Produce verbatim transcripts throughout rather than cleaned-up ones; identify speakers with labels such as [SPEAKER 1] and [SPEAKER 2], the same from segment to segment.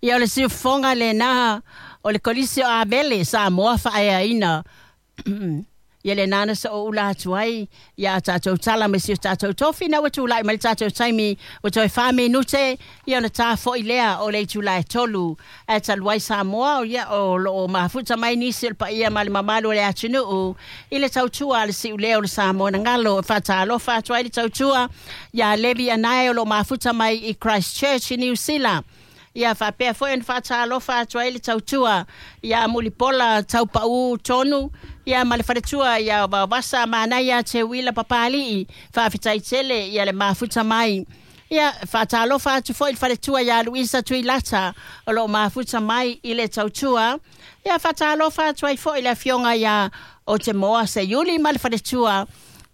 [SPEAKER 1] Ia o le siufofoga lenā o le Kolisi o Avele Samoa faaeaina. Ia lenā na so'oula atu ai ia tatou tala ma si o tatou tofi na ua tula'i mai le tatou taimi ua toe fa minute ia ona tafo'i lea o le itula e tolu ae talu ai Samoa ia o loo mafuta mai nisi o le paia ma le mamalu o le atunuu i le tautua a le si'ulea o le Samoa na galo e faatalofa atu ai le tautua iā Levi Anae o loo mafuta mai i Christchurch i Niu Sila. Ia faapea foi ona faatalofa atu ai le tautua iā Mulipola Taupaū Tonu ia ma le faletua ia Vaovasa Manaia Teuila Papali'i faafetai tele ia le mafuta mai. Ia faatalofa atu foi le faletua iā Luisa Tuilata o loo mafuta mai i le tautua. Ia faatalofa atu ai foi le afioga iā Otemoa Seiuli ma le faletua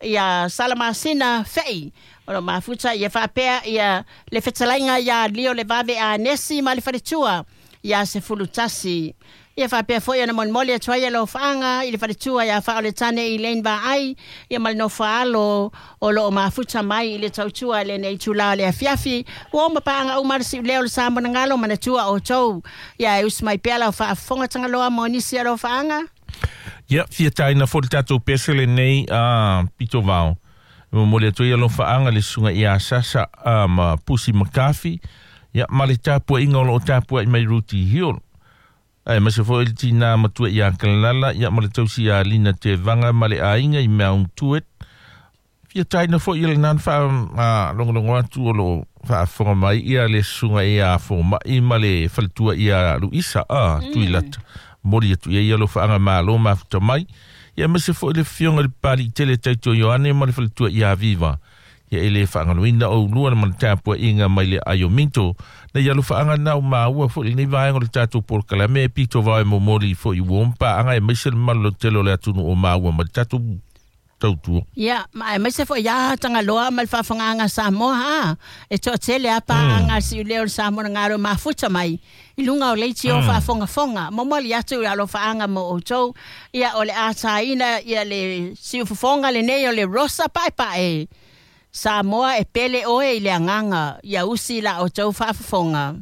[SPEAKER 1] ia Salamasina Fe'i o lo mafuta ia faapea ia le fetalaiga ia Lio le Vave Anesi ma le faletua ia Sefulu Tasi. Ia faapea foi ona molimoli atu ai alofaaga i le faletua ia Faaoletane i Lane Vaai ia ma le nofoaalo o loo mafuta mai i le tautua lenei itulā o le afiafi. Ua oma paaga uma le siulea o le Samoa na galo manatua outou. Ia e usi mai pea lau faafofoga Tagaloa mo nisi alofaaga.
[SPEAKER 2] Ia, fia tāina foi le tatou pese lenei a pito vao. E momoli atu ai alofaaga le susuga ia Sasa a ma Pusi Makafi. Ia, ma le tapuaiga o loo tapuai mai Ruti Hill. Ae mase foi le tinā matua ia Kalala, ia ma le tausi ia Lina Tevaga ma le aiga i Mount Tuet. Fia tāina foi ia le nana wha a, longolongo atu o loo faafofoga mai ia le susuga ia Fomai ma le faletua ia Luisa a mm. Tuilata. Moli atu ia ia alofaaga malo mafuta mai. Ia mase foi le fioga le pali tele taito Ioane ma le faletua ia Viva. Ia ele faagaloina o ulua na mana tapuaiga mai le aiominto. Na ia alofaaga na o maua foi lenei vaega o le tatou polokalame e pito vao e momoli foi ua oma paaga e maise le mamalu lautele o le atunuu o maua ma le tatou tautua.
[SPEAKER 1] Ia, ma aemaise foi ia Tagaloa ma le faafogaaga Samoa ha. E toatele a paaga mm. siulea o le Samoa na galo mafuta mai i luga o leitio mm. faafogafoga. Momoli atu i alofaaga mo outou. Ia o le ataina ia le siufofoga lenei o le Rosa Paepae. Samoa e pele oe i le agaga ia usi la outou faafofoga.